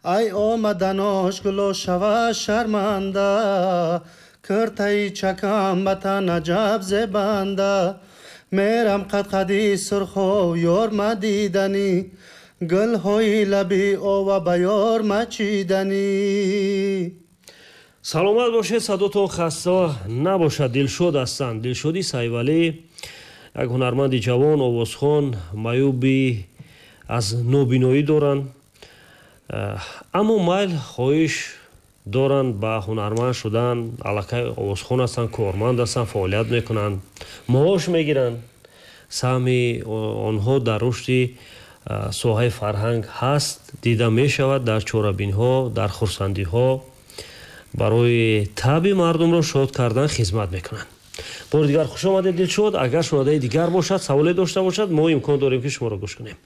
Ай омаданош гуло шава шарманда, киртаи чакам ба тан аҷаб зебанда. Мерам қадқади сурхо ёр мадиданӣ, гулҳои лаби ова ба ёр мачиданӣ. Саломат бошед, садотон хаста набошад. Дилшод ҳастанд, Дилшоди Сайвалӣ, як ҳунарманди ҷавон, овозхон, маъюби аз нобиноӣ доранд, аммо майл хоҳиш доранд ба ҳунарманд шудан. Аллакай овозхон ҳастанд, корманд ҳастанд, фаъолият мекунанд, маош мегиранд. Саҳми онҳо дар рушди соҳаи фарҳанг ҳаст, дида мешавад дар чорабинҳо, дар хурсандиҳо, барои таби мардумро шод кардан хизмат мекунанд. Бори дигар хуш омадед, Дилшод. Агар шунавандаи дигар бошад, саволе дошта бошад, мо имкон дорем, ки шуморо гӯш кунем.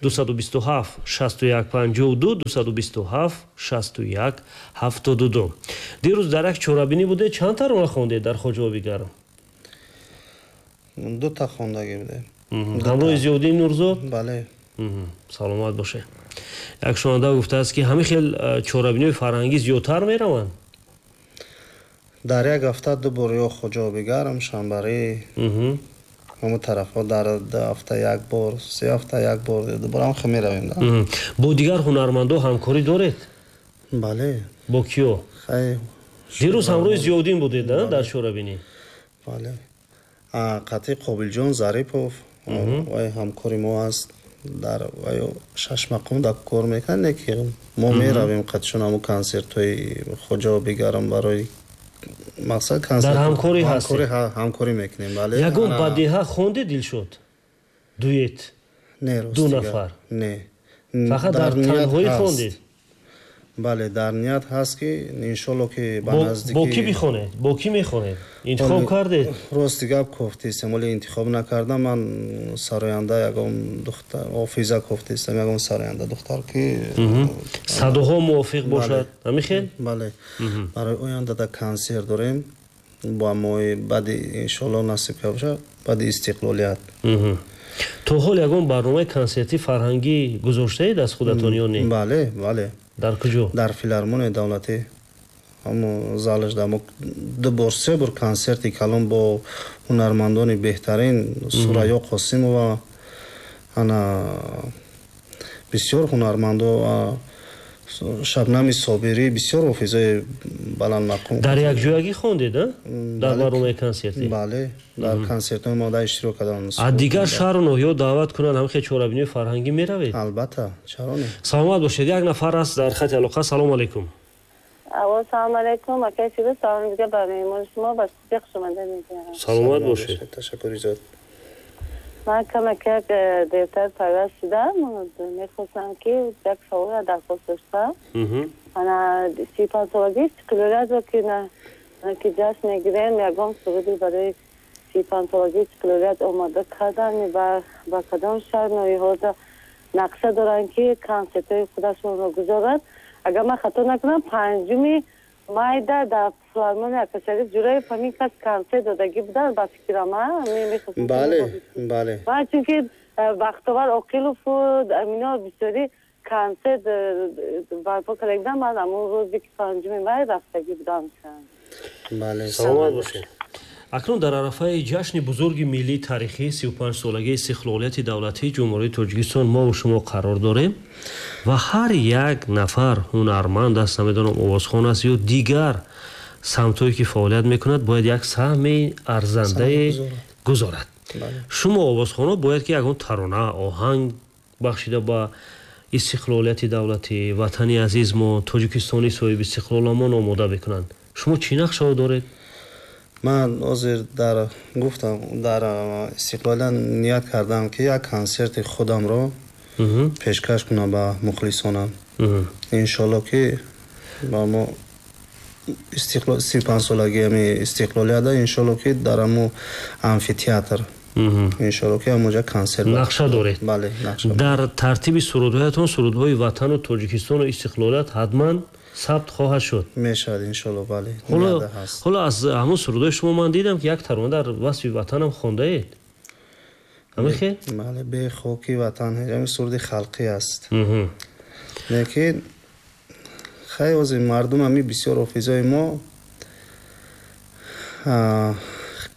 227 61 52, 227 61 72. Дирӯз дар як чорабинӣ будед, чанд тарона хондед дар Хоҷаоби Гарм? Дута хондагӣ будем. Ҳамроҳи Зиёддин Нурзод? Бале. Саломат бошед. Як шунаванда гуфтааст, ки ҳамин хел чорабиниҳои фарҳангӣ зиёдтар мераванд. Дар як ҳафта ду бор, ё Хоҷаоби Гарм, Шанбарӣ, ҳамон тарафҳо, дар 2 ҳафта як бор, 3 ҳафта як бор, ду бор ҳам хел меравем. Бо дигар ҳунармандо ҳамкорӣ доред? Бале. Бо киё? Дирӯз ҳамроҳи Зиёддин будед дар чорабинӣ? Бале, қатъи Қобилҷон Зарипов, вай ҳамкори мо аст, дар вай шашмақом дар кор мекунад, не ки мо меравем қатъишон ҳамун консертҳои Хоҷаоби Гарм, барои мақсад консерт. Дар ҳамкорӣ ҳастед? Ҳамкорӣ мекунем, бале. Ягон бадеҳа хонде, Дилшод, дуэт? Не. Ду нафар? Не. Фақат дар танҳоӣ хондед? Бале, дар ният ҳаст, ки иншолло ки ба наздикӣ. Бо кӣ бихонед, бо кӣ мехонед, интихоб кардед? Рости гап, кофтистем, вале интихоб накардам. Ман сароянда ягон духтар, офиза кофтистам, ягон сароянда духтар, ки садоҳо мувофиқ бошад, ҳамин хел? Бале, барои оянда да консерт дорем бо моҳи баъди, иншолло насиб бошад, баъди истиқлолият. То ҳол ягон барномаи консертӣ фарҳангӣ гузоштаед аз худатон ё не? Бале. Дар куҷо? Дар филармонияи давлатӣ, ҳамо залаш да мо ду бор, се бор консерти калон бо ҳунармандони беҳтарин, Сурайё Қосимова, ана бисёр ҳунармандо, Шабнами Собирӣ, бисёр ҳофизои баландмақом. Дар якҷоягӣ хондед дар барномаи консертӣ? Бале, дар консертҳои мо да иштирок кардам. Аз дигар шаҳру ноҳиё даъват кунанд, ҳамин хел чорабиниҳои фарҳангӣ меравед? Албатта, чаро не. Саломат бошед. Як нафар аст дар хати алоқа. Салому алайкум. Алло, салому алайкум, акай Фирӯз, салом дига ба меҳмони шумо, ба студия хушомада мегӯям. Саломат бошед. Ташаккури зиёд. Ман камак як дертар пайваст шудам, мехостам, ки як саволро дархост доштам. Ана 35-солагии истиқлолиятро ки ҷашн мегирем, ягон суруди барои 35-солагии истиқлолият омода кардан, ба кадом шаҳр ноҳияҳода нақша доранд, ки консертҳои худашонро гузоранд? Агар ман хато накунам, 5-уми майда дар филармония Акашариф Ҷураев ҳамин кас консерт додагӣ буданд, ба фикрам. Бале. Ман чунки Бахтовар Оқилову амино бисёри консерт барпо карда будам, ман ҳамон рӯзе, ки 5-уми май, рафтагӣ будам. Бале. Саломат бошед. Акнун дар арафаи ҷашни бузурги миллии таърихӣ, 35-солагии истиқлолияти давлатии Ҷумҳурии Тоҷикистон мову шумо қарор дорем ва ҳар як нафар ҳунарманд аст, намедонам, овозхон аст ё дигар самтҳое ки фаъолият мекунад, бояд як саҳми арзандае гузорад. Шумо овозхонҳо бояд ки ягон тарона, оҳанг бахшида ба истиқлолияти давлатӣ, ватани азизмо, Тоҷикистони соҳиби истиқлоламон омода бикунанд. Шумо чӣ нақшаҳо доред? Ман ҳозир дар гуфтам, дар истиқлолият ният кардам, ки як консерти худамро пешкаш кунам ба мухлисонам, иншолло ки ба мо 35-солагии ами истиқлолията, иншолло ки дар ҳамо амфитеатр, иншолло ки ҳамонҷа консерт. Нақша доред? Бале, нақша. Дар тартиби сурудҳоятон сурудҳои ватану Тоҷикистону истиқлолият ҳатман сабт хоҳад шуд? Мешавад, иншолло, бале. Ҳоло аз ҳамон сурудҳои шумо ман дидам, ки як тарона дар васфи ватанам хондаед, ҳамин хел? Бале, «Бе хоки ватан», ҳамин суруди халқӣ аст, лекин Хай, ҳозир мардум ҳами бисёр ҳофизои мо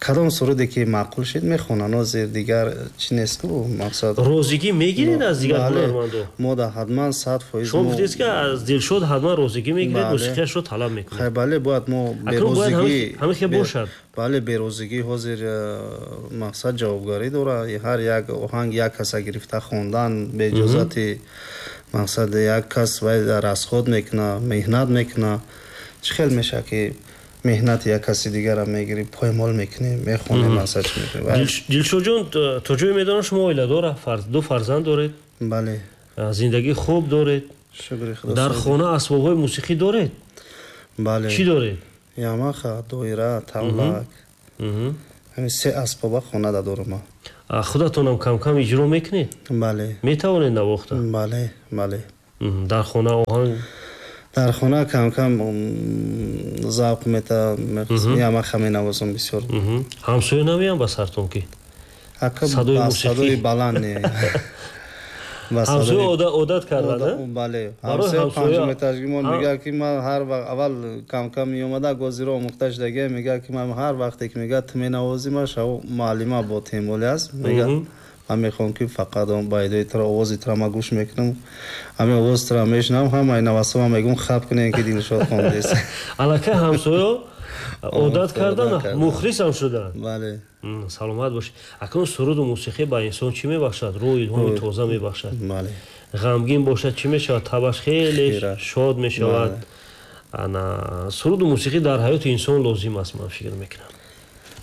кадом суруде ки маъқул шид мехонанд. Ҳозир дигар чӣ нест ку мақсад. Розигӣ мегиред аз дигар ҳунармандо? Мо да ҳатман 100%. Шумо гуфтед, ки аз Дилшод ҳатман розигӣ мегиред, мусиқияшро талаб мекунед. Хай, бале, бояд мо берозигӣ ҳамин хел бошад. Бале, берозигӣ ҳозир мақсад ҷавобгарӣ дорад. Ҳар як оҳанг як каса гирифта хондан беиҷозати мақсад як кас вай расход мекунад, меҳнат мекунад. Чӣ хел мешавад, ки меҳнати як каси дигарро мегирӣ, поймол мекунӣ, мехонӣ, мақсад чӣ мекунӣ? Дилшодҷон, то ҷое медонам, шумо оиладор, ду фарзанд доред. Бале. Зиндагии хуб доред. Шукри Худо. Дар хона асбобҳои мусиқӣ доред? Бале. Чӣ доред? Ямаха, доира, тавлак. Ҳамин се асбоба хонада дорам ман. Худатонам кам-кам иҷро мекунед? Бале. Метавонед навохта? Бале, бале. Дар хона оҳанг? Дар хона кам-кам завқ мета, ямаха менавозам бисёр. Ҳамсоя намеям ба сартон ки? Садои баланд не. Ҳамсоя одат кардан? Бале. Ҳамсоя панҷум этажгимон мегӯяд, ки ман ҳар вақт аввал кам-кам меомада, гозиро омӯхта шудагия, мегӯяд, ки ман ҳар вақте ки мегӯяд ту менавозӣ, ман шав муаллима бо темолӣ аст, мегӯяд ман мехоҳам, ки фақат он байдои туро, овози туро ман гӯш мекунам, ҳамин овози туро мешунавам, ҳамаи навасома мегӯм хаб кунем, ки Дилшод хондест. Аллакай ҳамсоё одат кардан, мухлисам шуданд. Бале. Саломат бошед. Акнун суруду мусиқӣ ба инсон чӣ мебахшад? Рӯҳ илҳоми тоза мебахшад. Бале. Ғамгин бошад, чӣ мешавад? Табаш хеле шод мешавад. Ана суруду мусиқӣ дар ҳаёти инсон лозим аст, ман фикр мекунам.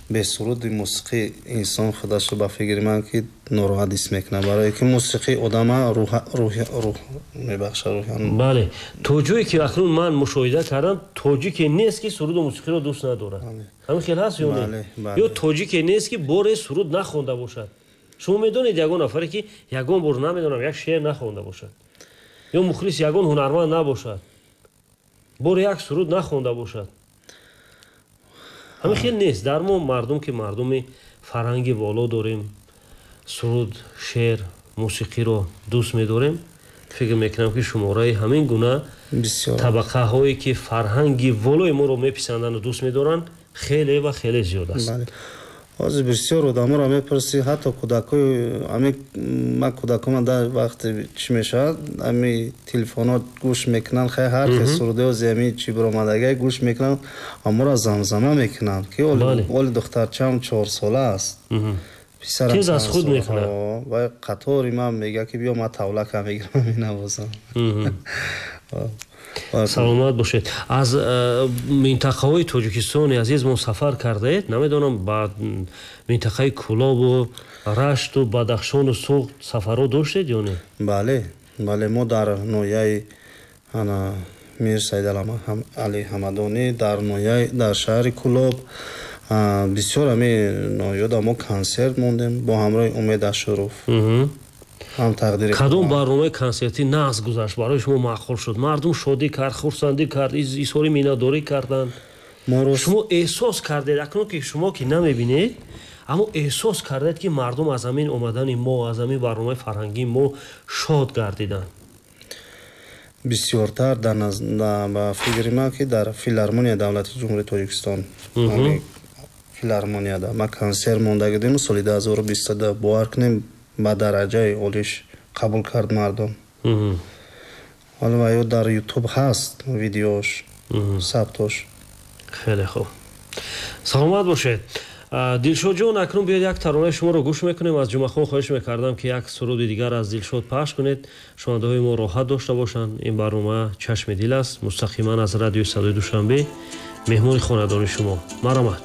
Бе суруди мусиқӣ инсон худашро, ба фикри ман, ки нороҳат ҳис мекунад, барое ки мусиқӣ одама рӯҳ мебахшад, рӯҳ. Бале, то ҷое ки акнун ман мушоҳида кардам, тоҷике нест, ки суруду мусиқиро дӯст надорад. Ҳамин хел ҳаст ё не? Ё тоҷике нест, ки боре суруд нахонда бошад. Шумо медонед ягон нафаре, ки ягон бор, намедонам, як шеър нахонда бошад ё мухлис ягон ҳунарманд набошад, боре як суруд нахонда бошад? Ҳамин хел нест. Дар мо мардум, ки мардуми фарҳанги воло дорем, суруд, шеър, мусиқиро дӯст медорем. Фикр мекунам, ки шумораи ҳамин гуна табақаҳое, ки фарҳанги волои моро меписанданду дӯст медоранд, хеле ва хеле зиёд аст. Ҳозир бисёр одаморо мепурсӣ, ҳатто кӯдакои ами ман, кӯдакома дар вақте чӣ мешавад, ами телефонҳо гӯш мекунанд, хай ҳар хел сурудҳози ами чӣ биромадагай гӯш мекунанд, аморо замзама мекунанд, ки оли духтарчаам 4 сола аст. Тез аз худ мекунад. Ва қатори ман мегӯяд, ки биё, ман тавлака мегирам, менавозам. Саломат бошед. Аз минтақаҳои Тоҷикистони азиз мо сафар кардаед, намедонам, ба минтақаи Кӯлобу Рашту Бадахшону Суғд сафарҳо доштед ё не? Бале, бале, мо дар ноҳияи ана Мир Саидали Ҳамадонӣ, дар ноҳияи, дар шаҳри Кӯлоб, бисёр ҳами ноҳиёда мо консерт мондем бо ҳамроҳи Умед Ашуров. Ҳам тақдири кадом барномаи консертӣ нағз гузашт, барои шумо маъқул шуд, мардум шодӣ кард, хурсандӣ кард, изҳори миннатдорӣ карданд, шумо эҳсос кардед, акнун ки шумо ки намебинед, аммо эҳсос кардед, ки мардум аз ҳамин омадани мо, аз ҳамин барномаи фарҳангии мо шод гардиданд? Бисёртар ба фикри ман, ки дар филармонияи давлати Ҷумҳурии Тоҷикистон, филармонияда ма консерт монда будем соли 2022, бовар кунем, ба дараҷаи олиш қабул кард мардум. Ҳоло ва ё дар Ютуб ҳаст видеош, сабтош. Хеле хуб, саломат бошед, Дилшодҷон. Акнун биёед, як таронаи шуморо гӯш мекунем. Аз Ҷумъахон хоҳиш мекардам, ки як суруди дигар аз Дилшод пахш кунед, шунавандаҳои мо роҳат дошта бошанд. Ин барнома «Чашми дил» аст, мустақиман аз радиои Садои Душанбе, меҳмони хонадони шумо. Марҳамат.